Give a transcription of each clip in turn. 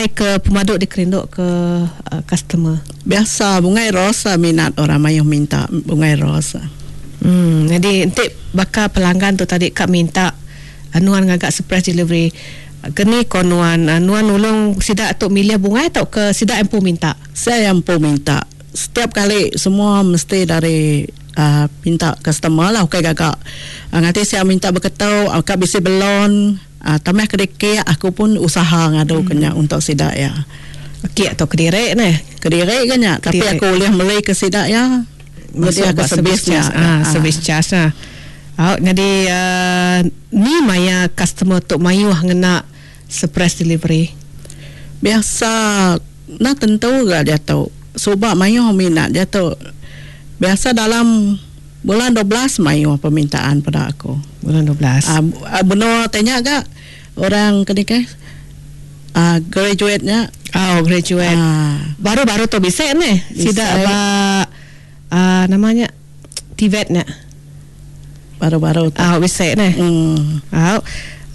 bungai ke pemadu dikerindu ke customer? Biasa bungai ros minat orang mayuh minta bungai ros. Em nyadi enti baka pelanggan tu tadi ka minta nuan ngaga surprise delivery keni ko nuan nuan nulung sida tu milih bungai tauka sida empu minta? Sida empu minta. Setiap kali semua mesti dari uhh minta customer lah ukai gaga nganti sia minta beketu ka bisi belon uhh tambah ke dikik aku pun usaha ngadu ke nya untuk sida iya. Kek tu kediri neh. Kediri ga nya tapi aku ulih meli ke sida iya nyedia ke servis nya. Uhh service charge nah. Au nyadi uhh ni maya customer tu mayuh ngena surprise delivery? Biasa enda tentu ga diatu. Suba mayuh minat diatu. Biasa dalam bulan 12 mayuh permintaan peda aku. Bulan 12. Uhh benua ti nya ga orang ke nikah uhh graduate nya. Oh graduate. Baru-baru tu bisi neh sida ba uhh nama nya TVET nya. Baru-baru tu. Au bisi neh. Au.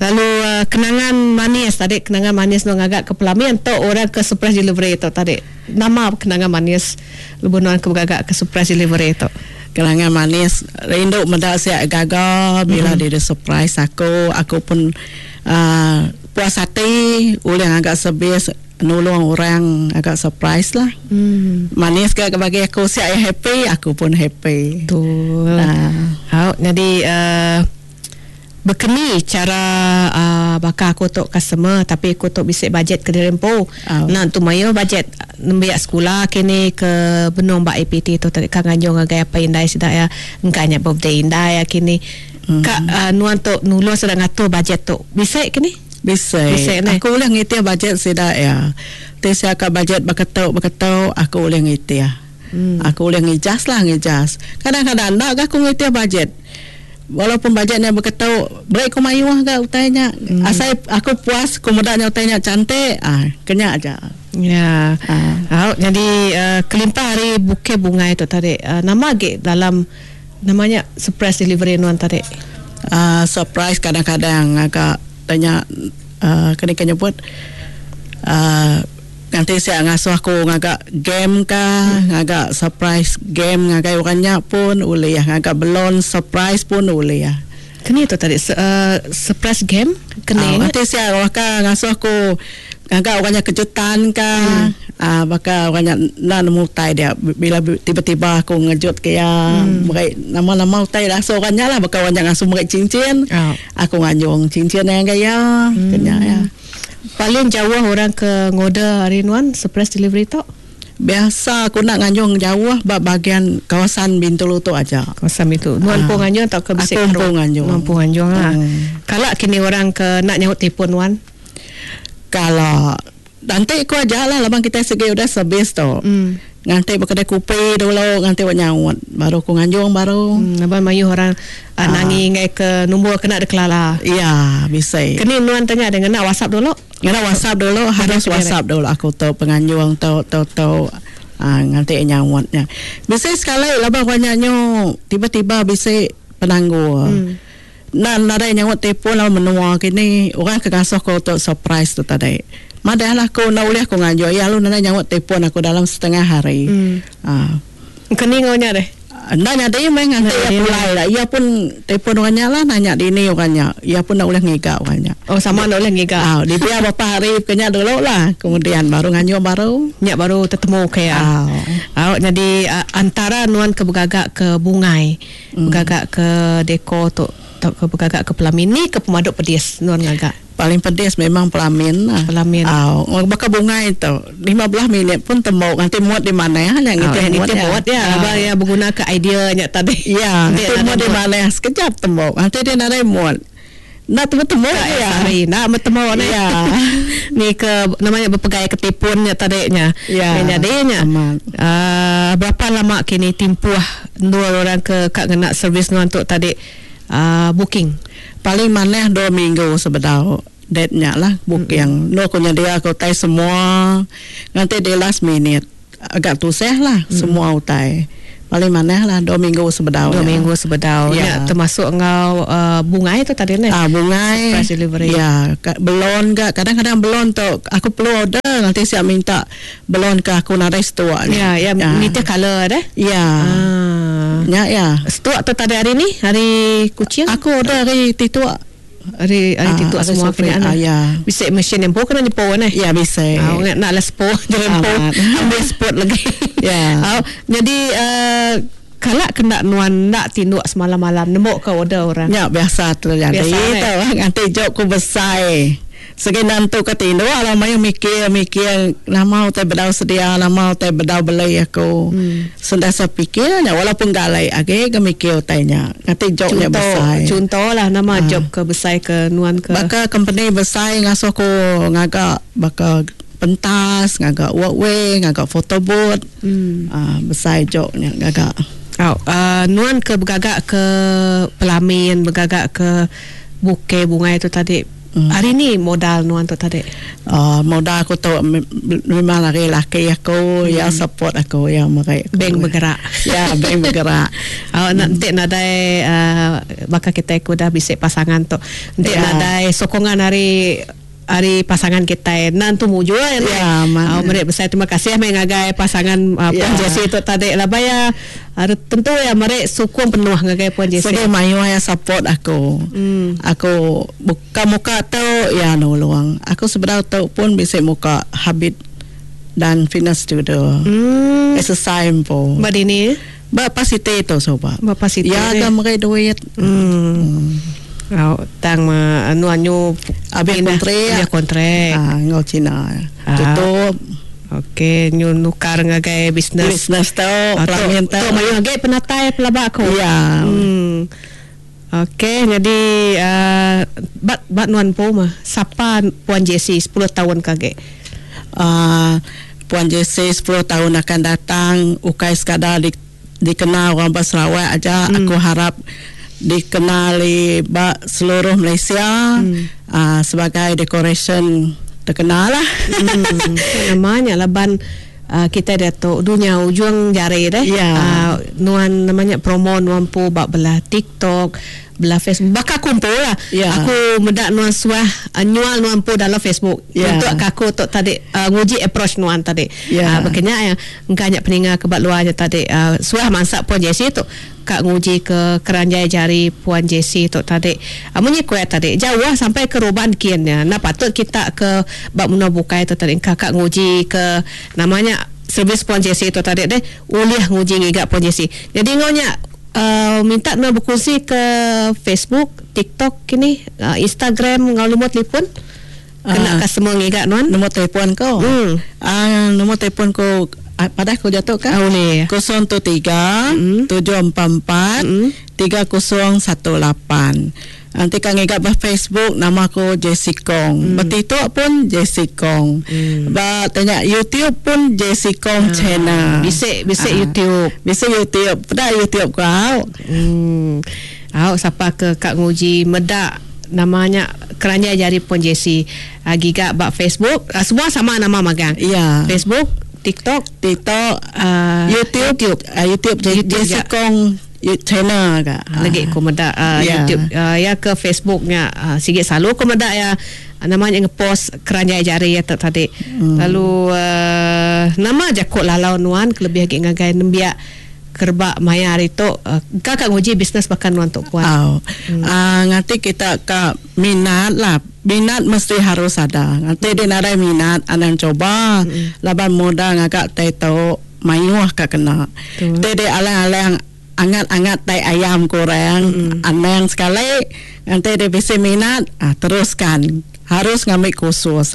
Lalu kenangan manis tadi kenangan manis nuan ngaga ke pelamin tu orang ke surprise delivery tu tadi. Nama kenangan manis lebuh nuan ke begaga ke surprise delivery tu? Kenangan manis rindu meda sia gaga bila diri surprise aku, aku pun uhh puas ati ulih ngaga servis nulung orang ngaga surprise lah. Manis ga bagi aku sia iya happy aku pun happy. Betul. Au nyadi uhh Bekeni chara baka aku tu customer tapi aku tu bisi bajet kediri empu. Enda entu mayuh bajet nembiak sekula kini ke benung ba IPT tu tadi ka nganjung ngagai apai indai sida iya engka nya birthday indai iya kini. Ka nuan tu nulung sida ngatur bajet tu bisi kini? Bisi. Aku ulih ngitih bajet sida iya. Ti sia ka bajet baka tu baka tu aku ulih ngitih. Aku ulih ngijas lah ngijas. Kadang-kadang enda ga aku ngitih bajet. Walaupun bajet nya beketu, beri ku mayuh ga utai nya. Asai aku puas ku meda nya utai nya cantik, ah ke nya aja. Ya. Au nyadi kelimpah ari bukeh bungai tu tadi, nama agi dalam nama nya surprise delivery nuan tadi? Ah surprise kadang-kadang ngaga utai nya ah keni ke nyebut ah Nganti sia ngasuh aku ngaga game ka, ngaga surprise game ngagai orang nya pun ulih, ngaga belon surprise pun ulih. Keni tu tadi surprise game? Keni nya? Nganti sia baka ngasuh aku ngaga orang nya kejutan ka, aaa baka orang nya enda nemu utai dia bila tiba-tiba aku ngejut ke iya meri nama-nama utai asuh orang nya lah baka orang nya ngasuh meri cincin, aku nganjung cincin ngagai iya, ke nya iya. Paling jauh orang ke ngorder ari nuan surprise delivery tu? Biasa aku enda nganjung jauh ba bahagian kawasan Bintulu tu aja. Kawasan Bintulu. Nuan empu nganjung tauka bisi Aku empu nganjung. Nuan empu nganjung lah. Kala kini orang ke enda nyaut telefon nuan? Kala. Nganti ku aja lah laban kitai sigi udah servis tu. Nganti ba kedai kopi dulu nganti ba nyaut baru ku nganjung baru. Laban mayuh orang nangi enggai ke nombor kena dikelala. Iya bisi. Keni nuan tanya deh ngena whatsapp dulu? Ngena whatsapp dulu harus whatsapp dulu aku tu penganjung tu tu tu aaa nganti nyaut nya. Bisi sekali laban orang nya nyu tiba-tiba bisi penanggul. Enda nadai nyaut telefon lalu menua kini orang ke ngasuh aku tu surprise tu tadi. Madah lah aku enda ulih aku nganjur iya lalu nadai nyaut telefon aku dalam setengah hari. Aaa. Keni enggau nya deh? Enda nyadi meh nganti iya pulai lah. Iya pun telefon orang nya lah nanya dini orang nya. Iya pun enda ulih ngiga orang nya. Oh sama enda ulih ngiga. Au dibiar berapa hari ke nya dulu lah kemudian baru nganjur baru. Nya baru tetemu ke iya. Au. Au nyadi antara nuan ke begaga ke bungai. Begaga ke deko tu tauka begaga ke pelamin ni ke pemadu pedis nuan ngaga? Paling pedis memang pelamin lah. Pelamin. Au, baka bungai tu 15 minit pun tembu nganti mut di manah nya ngitih mut ya. Ngitih mut ya laban iya beguna ke idea nya tadi. Ya, nganti mut di manah sekejap tembu nganti dia nadai mut. Enda temu-temu Ka iya. Sehari enda betemu neh. Ya. Ni ke nama nya bepegai ke tipun nya tadi nya. Ya. Nya nyadi nya. Amat. Aaa berapa lama kini timpuh endur orang ke ka ngena servis nuan tu tadi aaa booking? Paling manah dua minggu sebedau date nya lah booking. Endur ku nyedia ke utai semua nganti di last minute. Agak tusah lah semua utai. Paling manah lah dua minggu sebedau Dua nya. minggu sebedau Ya. nya termasuk enggau uh, bungai tu tadi neh. Ah bungai. Surprise delivery. Ya, belon ga kadang-kadang belon tu aku perlu order. Nanti siap minta belon ke aku nadai setua. Ya, ya, ya. Nitih color deh. Ya. Ah. Ya, ya. Setua tu tadi hari ni, hari Kuching. Aku order hari Titua. Hari hari Ah, Titua hari semua Sofri. kena. Ah, ya. Bisa mesin yang kena nyepo ni. Ya, bisa. Ah, nak nak lah sepo jempo. Amat. Ambil spot lagi. Ya. Ah, jadi kalak kena nuan nak tinduk semalam-malam nembok ke order orang. Ya, biasa terjadi. Biasa, eh? Tahu, nanti job ku besar. Segi nantu ke tinduk lah mayu mikir-mikir nama utai bedau sedia, nama utai bedau beli aku. Sentiasa fikirnya walaupun galai age ke mikir utainya. Nanti jobnya Contoh, besar. contoh lah nama job ke besar ke nuan ke. Baka company besar ngasuh aku ngagak baka pentas, ngagak walkway, ngagak photo booth. Ah, besar jobnya ngagak. Oh, nuan ke bergagak ke pelamin, bergagak ke buke bunga itu tadi. Hari ni modal nuan tu tadi. Modal aku tu memang lari laki aku yang support aku yang mereka. Bank bergerak. Ya, bank bergerak. Oh, nanti nadai bakal kita aku dah bisik pasangan tu. Nanti Ya. nadai sokongan hari hari pasangan kita nan tu muju ya. Ya, man. Oh, mereka besar terima kasih mengagai pasangan Puan Ya. Jesse tu tadi lah baya. Tentu ya mereka sokong penuh ngagai Puan Jesse. Sebagai mayu yang support aku. Aku buka muka tu ya nolong. Aku sebenarnya tu pun bisa muka habit dan fitness studio. Exercise pun. Mbak Dini, Bapak Siti tu sobat. Bapak Siti. Ya, ni. kan mereka duit. Oh, tang ma anu anyu Habis pindah. kontrak. Habis kontrak. Ah, ngau Cina. Ah. Tutup. Okey, nyu nukar ngagai bisnes. Bisnes tu, Ah, tu, pelamin tu. tu mayu ngagai penatai pelabak aku. Ya. Okey, jadi bat bat nuan po mah. Sapa Puan Jesse 10 tahun kage. Puan Jesse 10 tahun akan datang ukai sekadar dikenal orang Sarawak aja. Aku harap dikenali bak seluruh Malaysia sebagai decoration terkenal lah. Namanya laban kita dah tu dunia ujung jari deh. Ya. Nuan namanya promo nuan pu bak belah TikTok, belah Facebook. Bakal kumpul lah. Ya. Aku medak nuan suah nyual nuan pu dalam Facebook. Ya. Untuk aku tu tadi nguji approach nuan tadi. Ya. Berkenyak yang engkau peninga ke bak luarnya tadi. Suah masak Puan Jesse tu kak nguji ke keranjai jari Puan Jesse tu tadi. Munyi kuat tadi. Jauh lah sampai ke Roban kiannya. Nah patut kita ke bak menua bukai tu tadi. Kakak nguji ke namanya servis Puan Jesse tu tadi deh. Uliah nguji ngigak Puan Jesse. Jadi ngonya minta nak berkongsi ke Facebook, TikTok kini, Instagram ngau lumut telefon. Kena customer ngigak nuan. Nombor telefon kau. Nombor telefon kau pada aku jatuh kan? Boleh. 013 744 3018. Nanti kan ngigak bah Facebook nama aku Jesse Kong. Bah TikTok pun Jesse Kong. Bah tanya YouTube pun Jesse Kong channel. Bisik YouTube. Bisik YouTube. Pada YouTube kau. Awak siapa ke Kak Nguji medak namanya keranjai jari pun Jesse. Gigak bak Facebook, semua sama nama magang. Ya. Facebook, TikTok, YouTube, YouTube, YouTube Jesse ya. Kong channel kak. Lagi ku medak YouTube ya ke Facebooknya sikit selalu ku medak ya namanya ngepost keranjai jari ya tadi. Lalu nama jakut lalau nuan kelebih lagi ngagai nembiak kerbak maya hari tu kakak nguji bisnes bahkan nuan tok puan. Nanti kita ke minat lah. Minat mesti harus ada. Nanti dia ada minat, anang coba. Laban muda ngagak teto mayuh kak kena. Dia alang-alang angat-angat tai ayam kurang, anang sekali. Nanti dia bisa minat, teruskan. Harus ngambil kursus.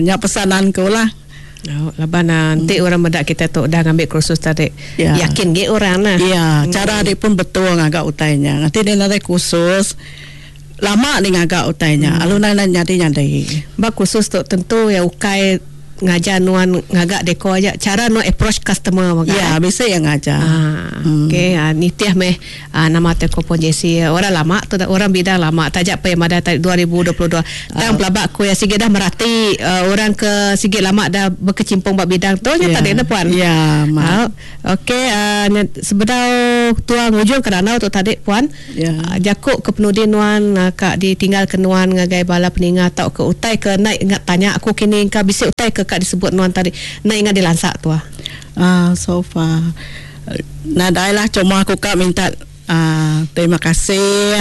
Nya pesananku lah. Oh, laban nanti orang medak kita tu dah ngambil kursus tadi. Ya. Yakin ge orang lah. Ya, cara dia pun betul ngagak utainya. Nanti dia ada kursus lama dia ngagak utainya. Alu nak nyadi-nyadi. Bak kursus tu tentu ya ukai ngajar nuan ngaga deko aja cara nuan approach customer mega. Ya, bisi iya ngajar. Ah, hmm. Okey, ah, nitih meh ah, nama te ko Puan Jessie orang lama tu orang bidang lama taja pe madah tadi 2022. Tang pelaba aku ya sigi dah merati uh, orang ke sigi lama dah berkecimpung ba bidang tu nya yeah. tadi ne puan. Ya, yeah, Okey, uh, sebedau tua ngujung ke danau tu tadi puan. Yeah. Jaku ke penudi nuan ka ditinggal ke nuan ngagai bala peninga tau ke utai ke naik ingat tanya aku kini engka bisi utai ke ka disebut nuan tadi naik ingat dilansa tua. So far nadai lah cuma aku ka minta terima kasih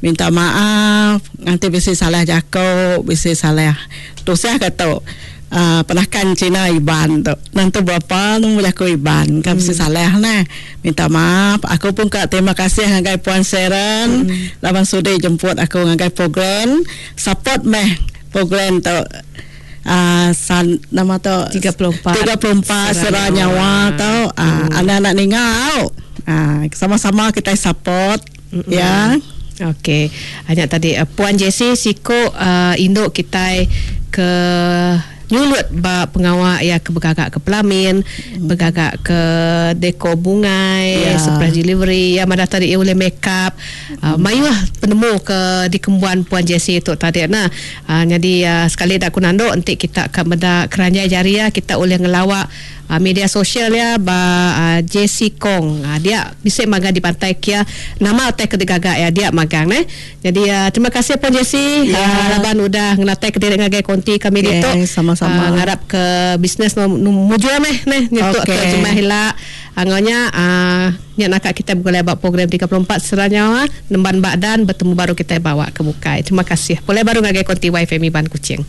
minta maaf nganti bisi salah jaku bisi salah tusah ka tu. Penakan Cina Iban tu. Nentu berapa nemu jaku Iban ka bisi salah neh. Minta maaf. Aku pun ka terima kasih ngagai Puan Sharon laban sudi jemput aku ngagai program. Support meh program tu. San nama tu 34 34 Sera Nyawa tu. Anak-anak ninga au. Sama-sama kitai support ya. Okey. Nya tadi Puan Jessie siku indu kitai ke nyulut ba pengawa iya ke begaga ke pelamin, begaga ke deko bungai, surprise delivery, iya madah tadi iya ulih make up. Mayuh penemu ke dikembuan Puan Jessie tu tadi nah. Nyadi sekali da aku nandu enti kita ka meda keranjai jari iya kita ulih ngelawa Media sosial iya ba JC Kong. Dia bisi magang dibantai kia nama utai ke digaga iya dia magang neh. Jadi terima kasih Puan Jessie laban udah ngenatai ke diri ngagai konti kami ditu. Sama-sama. Ngarap ke bisnes mujur meh neh nyentuk ke jemah ila. Enggau nya nya naka kitai begulai ba program 34 Sera Nyawa Nemban Ba Dan betemu baru kitai ba awak ke bukai. Terima kasih. Pulai baru ngagai konti YFM Iban Kuching.